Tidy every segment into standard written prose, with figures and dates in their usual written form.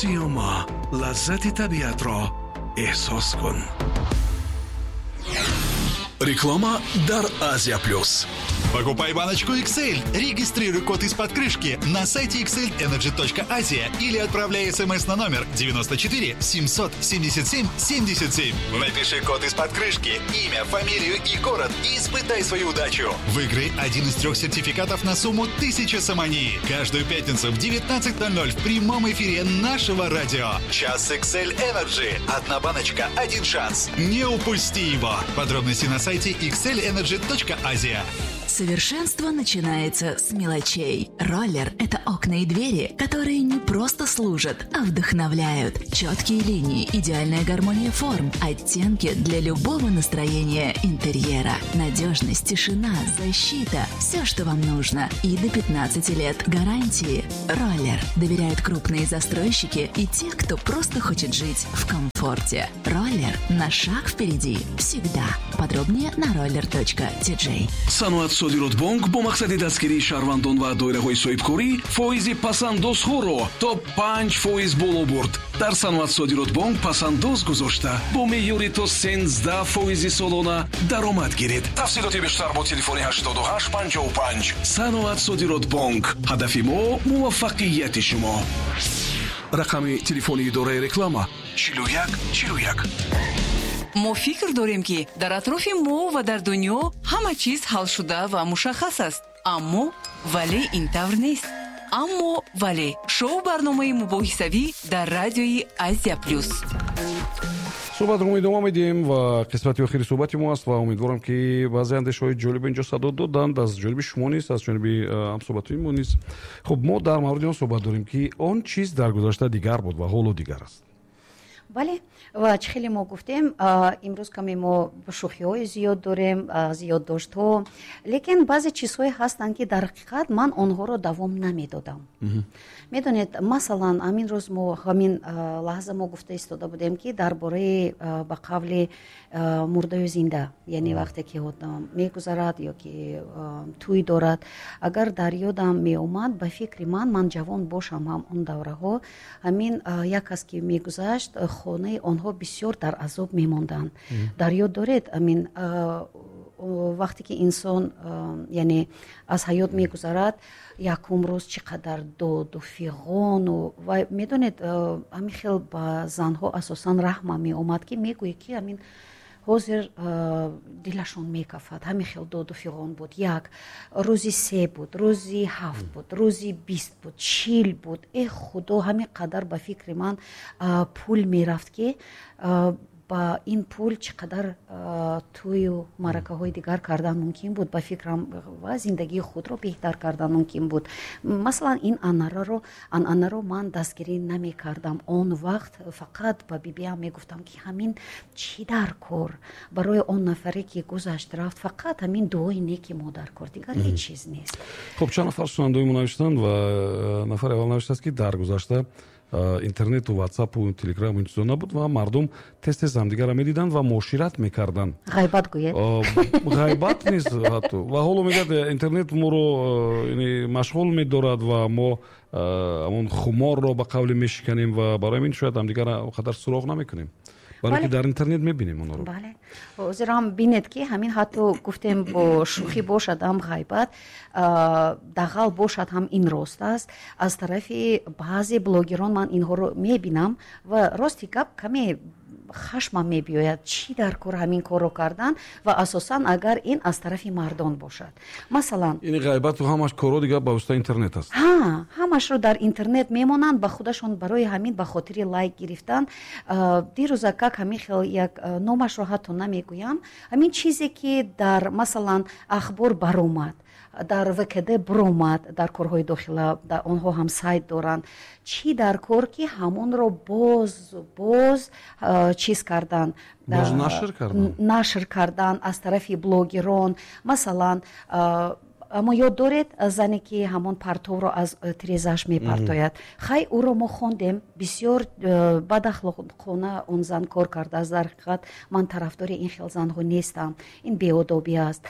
Сиёма, лаззати табиатро эҳсос кун. Реклама дар Азия Плюс. Покупай баночку XL, регистрируй код из-под крышки на сайте xlenergy.asia или отправляй смс на номер 94 777 77. Напиши код из-под крышки, имя, фамилию и город и испытай свою удачу. Выиграй один из трех сертификатов на сумму 1000 сомони. Каждую пятницу в 19:00 в прямом эфире нашего радио. Час XL Energy. Одна баночка, один шанс. Не упусти его. Подробности на сайте xlenergy.asia. Совершенство начинается с мелочей. Роллер – это окна и двери, которые не просто служат, а вдохновляют. Четкие линии, идеальная гармония форм, оттенки для любого настроения интерьера. Надежность, тишина, защита – все, что вам нужно. И до 15 лет гарантии. Роллер доверяют крупные застройщики и те, кто просто хочет жить в комфорте. Роллер на шаг впереди всегда. Подробнее на roller.tj. Саноат Содиротбонк бо мақсади дастгирии шаҳрвандон ва доираҳои соҳибкорӣ фоизи пасандозҳоро то 5% боло бурд. Дар Саноат Содиротбонк пасандоз гузошта бо меъёри то 13% солона даромад гиред. Тафсилоти бештар бо телефони 8855. Саноат Содиротбонк, ҳадафи мо муваффақияти шумо. Рақами телефони идораи реклама 41 41. Мо фикр дорем, ки дар атрофи мо ва дар дунё ҳама чиз ҳалшуда ва мушаххас аст, аммо вале ин тавр нест. Аммо вале — шоу барномаи мубоҳисавӣ дар радиои Азия Плюс. Суҳбатро мо идома медиҳем ва қисмати охири суҳбати мо аст ва умедворам, ки баъзе андешаҳои ҷолиб инҷо садо доданд, аз ҷониби шумо низ, аз ҷониби ҳамсуҳбатои мо низ. Хуб, мо дар мавриди он суҳбат дорем, ки он чиз дар гузашта дигар буд ва ҳоло дигар аст. Бале, ва чӣ хеле мо гуфтем, имрӯз каме мо шӯхиҳои зиёд дорем, зиёддоштҳо, лекин баъзе чизҳое ҳастанд, ки дар ҳақиқат ман онҳоро давом намедодам. Медонед, масалан, ҳамин рӯз мо, ҳамин лаҳза мо гуфта истода будем, ки дар бораи, ба қавли, мурдаю зинда, яъне вақте ки одам мегузарад ё ки тӯй дорад, агар дар ёдам меомад, ба фикри ман, ман ҷавон бошам ҳам, он давраҳо ҳамин як кас ки мегузашт, хонаи онҳо бисёр дар азоб мемонданд. Дар ёд доред, ҳамин вақте ки инсон, яъне, аз ҳаёт мегузарад, якум рӯз чӣ қадар доду фиғону ва, медонед, ҳамин хел ба занҳо асосан раҳма меомад, ки мегӯӣ, ки ҳамин ҳозир дилашон мекафад. Ҳамин хел доду фиғон буд. Як рӯзи се буд, рӯзи ҳафт буд, рӯзи 20 буд, 40 буд. Э худо, ҳамин қадар, ба фикри ман, пул мерафт, ки ба ин пул чӣ қадар тӯю маъракаҳои дигар кардан мумкин буд, ба фикрам, ва зиндагии худро беҳтар кардан мумкин буд. Масалан, ин анъанаро ман дастгирӣ намекардам он вақт. Фақат ба бибиам мегуфтам, ки ҳамин чӣ дар кор? Барои он нафаре, ки гузашт, рафт, фақат ҳамин дуои неки мо дар кор, дигар ҳеҷ чиз нест. Хуб, чанд нафар шунавандаои мо навиштанд ва нафари аввал навиштааст, ки дар гузашта интернету ватсапу телеграму ин чизо набуд ва мардум тез тез ҳамдигарро медиданд ва муошират мекарданд. Ғайбат гӯед. Ғайбат нест ҳатто. Ва ҳоло мегӯяд, интернет моро машғул медорад ва мо ҳамон хуморро, ба қавле, мешиканем ва барои ҳамин шояд ҳамдигарро он қадар суроғ намекунем, барое ки дар интернет мебинем онҳоро. Бале, ҳозир ҳам бинед, ки ҳамин ҳатто гуфтем, бо шӯхӣ бошад ҳам, ғайбат, дағал бошад ҳам, ин рост аст. Аз тарафи баъзе блогерон ман инҳоро мебинам ва, рости гап, каме хашмам мебиёяд: чӣ дар кор ҳамин корро кардан? Ва асосан агар ин аз тарафи мардон бошад, масалан. Ин ғайбату ҳамаш корҳо дигар ба воситаи интернет аст. Ҳа, ҳамашро дар интернет мемонанд ба худашон, барои ҳамин, ба хотири лайк гирифтан. Дирӯза как ҳамин хел як, номашро ҳатто намегӯям, ҳамин чизе ки дар, масалан, ахбор баромад, дар ВКД биромад, дар корҳои дохила, онҳо ҳам сайт доранд, чӣ дар кор, ки ҳамонро боз боз чиз кардан? Боз нашр кардан. Нашр кардан аз тарафи блогерон. Масалан, аммо ёд доред зане, ки ҳамон партовро аз тирезааш мепартояд? Хай, ӯро мо хондем, бисёр бадахлоқона он зан кор кардааст. Дар ҳақиқат ман тарафдори ин хел занҳо нестам, ин беодобӣ аст.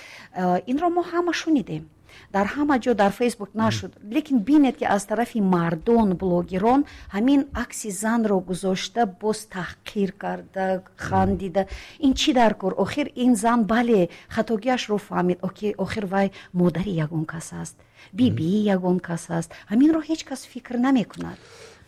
Инро мо ҳама шунидем. Дар ҳама ҷо, дар Фейсбук нашуд, лекин бинед, ки аз тарафи мардон, блогерон ҳамин акси занро гузошта, боз таҳқир карда, хандида. Ин чӣ дар кор? Охир ин зан, бале, хатогиашро фаҳмид. Охир вай модари ягон кас аст, бибии ягон кас аст. Ҳаминро ҳеҷ кас фикр намекунад.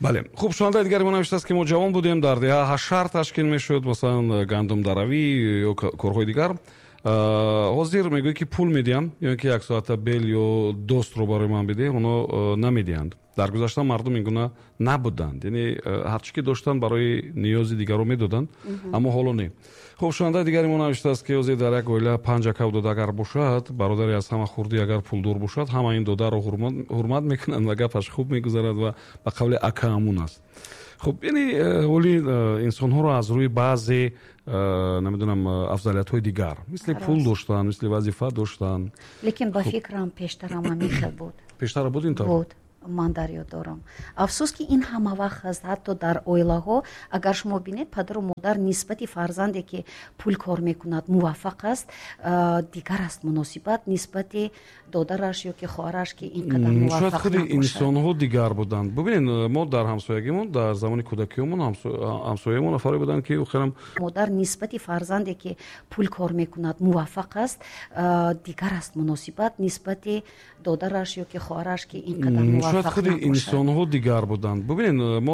Бале, хуб, шунавандаи дигари мо навиштааст, ки мо ҷавон будем, дар деҳа ҳашар ташкил мешуд, масалан, гандумдаравӣ ё корҳои дигар. Ҳозир мегӯяд, ки пул медиҳам ё ин ки як соата бел ё достро барои ман бидеҳ, оно намедиҳанд. Дар гузашта мардум ин гуна набуданд, яъне ҳарчи ки доштанд, барои ниёзи дигарро медоданд, аммо ҳоло не. Хуб, шунавандаи дигари мо навиштааст, ки ҳозир дар як оила панҷ акав дода агар бошад, бародари аз ҳама хурдӣ агар пулдор бошад, ҳама ин додаро ҳурмат мекунанд ва гапаш хуб мегузарад ва ба қавли акаамун аст. Хуб, яъне оли инсонҳоро аз рӯи баъзе, намедонам, афзалиятҳои дигар, мисли пул доштан, мисли вазифа доштан. Лекин ба фикрам, пештарам ҳамин хел буд. Пештара буд ин тавр? Буд, ман дар ёд дорам. Афсӯс, ки ин ҳама вақт ҳаст, ҳатто дар оилаҳо. Агар шумо бинед, падару модар нисбати фарзанде, ки пул кор мекунад, муваффақ аст, дигар аст муносибат нисбати додараш ё ки хоҳараш, ки ин қадар шояд муваффақ худи набошад. Инсонҳо дигар буданд. Бубинед, мо дар ҳамсоягимон, дар замони кӯдакиёмон, ҳамсоямо нафаре буданд, ки охирам Модар нисбати фарзанде, ки пул кор мекунад, муваффақ аст, дигар аст муносибат нисбати додараш ё ки хоҳараш, ки ин қадар Шояд муваффақ худи набошад. инсонҳо дигар буданд. Бубинед, мо